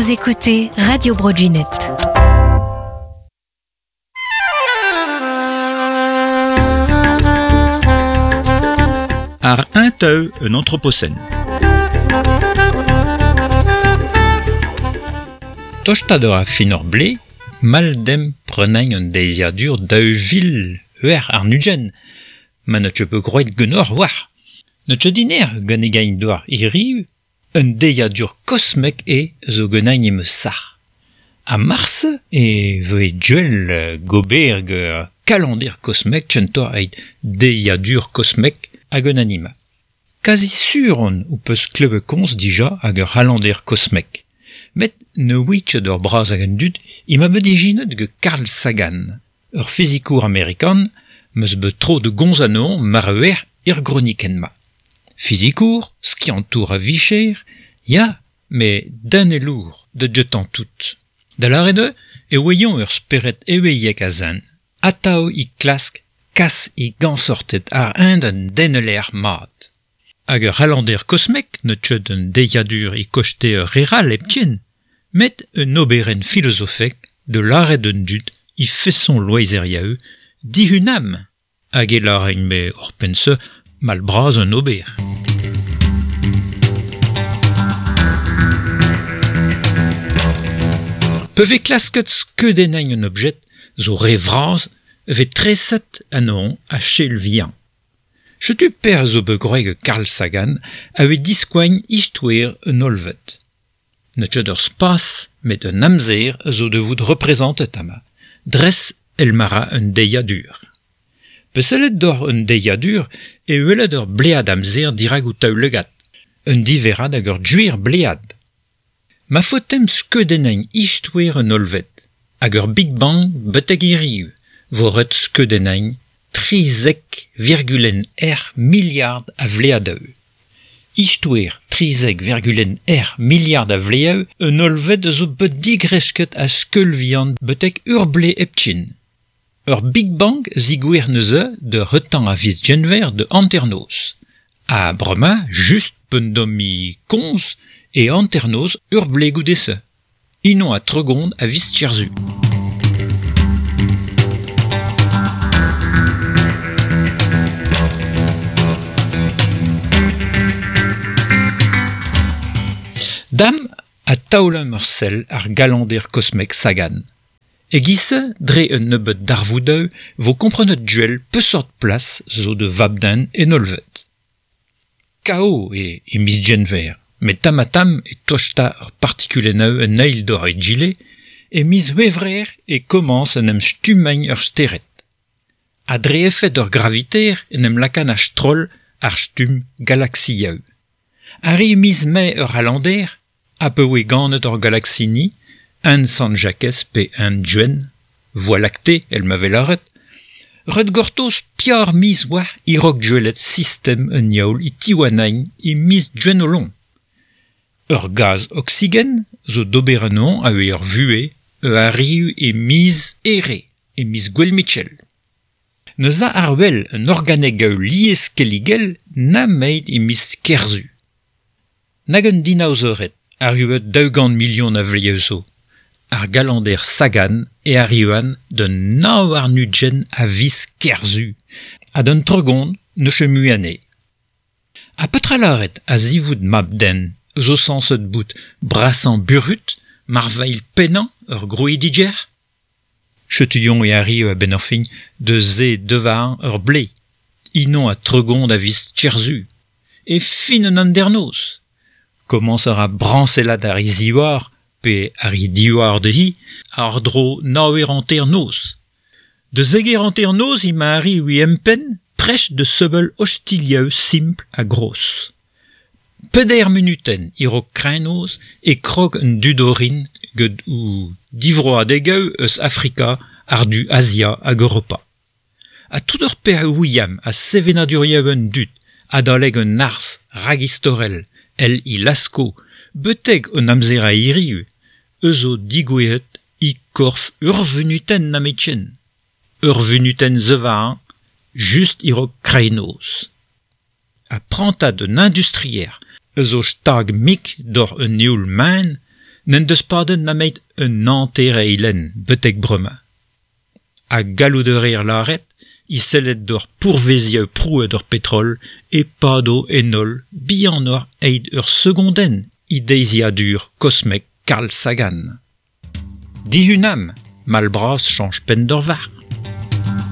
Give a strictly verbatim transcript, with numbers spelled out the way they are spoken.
Vous écoutez Radio Bro Gwened. Ar un teu un anthropocène. Tosta a fin ur ble, mal dem prenañ un deiziadur daou vil ur ar nugen, ma ne pe groet genor war. Ne tche diner gant e gain doar iriv, un deiziadur kosmek e zo genañ em sac'h. A mars e veue duel gober ge kalandir kosmek tchentor eit deiziadur kosmek hag un anima. Kazi sur on ou peus klebe kons dija hag ur halandir kosmek. Met ne ouitch d'ur braz hag un dud, ima bet ijinet ge Carl Sagan, ur fizikour amerikan, meus bet tro de gonz anon mar eur ir gronikenma. Fizikour, skiantour a vicher, ya, me den e lour, de jetan tout. Da lare de, e oeyon ur speret eweiek a zan, atao i klask, kas i gansortet ar un d'un deneler mat. Hag ur halandir kosmek ne tcheud un deiadur i kochte ur reral eptien, met un oberen filosofek de lare d'un dud i feson loizeriaeu dihunam, hag e laren me ur pense mal braz un ober. Peve klasket skeudennañ un objet zo re vraz ve treset anon a chel vian. Chetu per zo be groeg Carl Sagan a ve diskoagn ichtouer un olvet. Ne tcheud ur spas met un amzer zo de vout reprezentet ama. Dres el mara un deiadur. Pesellet d'or un deiadur e uelet ur blead amzer dirag ou taoulegat. Un diverad hag ur djuir blead. Ma fotem skeudennañ ichtouer un olvet, hag ur Big Bang betek iriu, vo ret skeudennañ trizek virgulen r milliard a vleadeu. Ichtouer trizek virgulen r milliard a vleeu un olvet zo bet digresket a skeulvian betek ur ble eptchin. Ur Big Bang zigouer neuze de retan a viz genver de anternoz. A brema just pendomi konz e anternoz ur ble goudese. Inon a tregond a viz tcherzu. Dam a taoulem ur sell ar galandir kosmek Sagan. E gisse, dre un nebeut darvoudeu, vo komprenet duel peusort plas zo de vabden en olvet. K O e e miz genver, met tamatam e tosta ur partikulenneu un eil d'or e gile, e miz wevrer e komans en em stumagn ur steret. A dre efet ur graviter en em lakan a stroll ar stum galaxiaeu. Ar e miz mae ur halander, a pe oe ganet ur galaxini, un Sant Jacques pe un Duen, Voie lactée, el m'avait laret, ret gortoz piar miz war irok duelet system un yaoul i tiwanain i miz duen o long. Ur gaz oxygen zo d'ober anon a ur vue e arriu e miz ere e miz gwell Mitchell. Ne za ar wel un organeg gaou lies keligel na meid e miz kerzu. Nag un dinaozoret arriuet daou million a vlieuzo. Ar galander Sagan e arriuan d'un nao ar nudgen a viz kerzu, ha d'un tregond ne chemu ane. A petra laret a zivout mab den, zo sanset bout brasan burut, marvail penan ur grouidiger? Chetuyon e arriu a ben ur fin de ze devar ur ble, inon a tregond a viz tcherzu, e fin un andernoz. Commencer a branselat ar iziwar, pe ar i diwar de hi, ar dro naouer anter noz. De zeger anter noz i ma arri ui empen, prech de sebeul hostilieu simpl a gros. Peder minuten iro kreinoz e krog un dudorin ged ou divroadegeu eus Afrika ar du Asia hag Europa. A tout ur per ouiam a sevenadurieu un dud, adaleg un arz ragistorel, el i lasko, beteg un amzer a iriu, eus o digoueet i korf ur vunuten nametchen. Ur vunuten zevahan, just irok kreinoz. A prantad un industrier, eus o stag mik d'or un eoul maen, N'en deus padet nameit un hanter-eilenn betek bremañ. Ha gallout a reer lâret, e sellet d'ur pourveziañ prouet ur petrol e pado en holl bihanoc'h eget ur segondenn e deiziadur kosmek Carl Sagan. Dihunamp, mall bras chañch penn d'ur varc'h.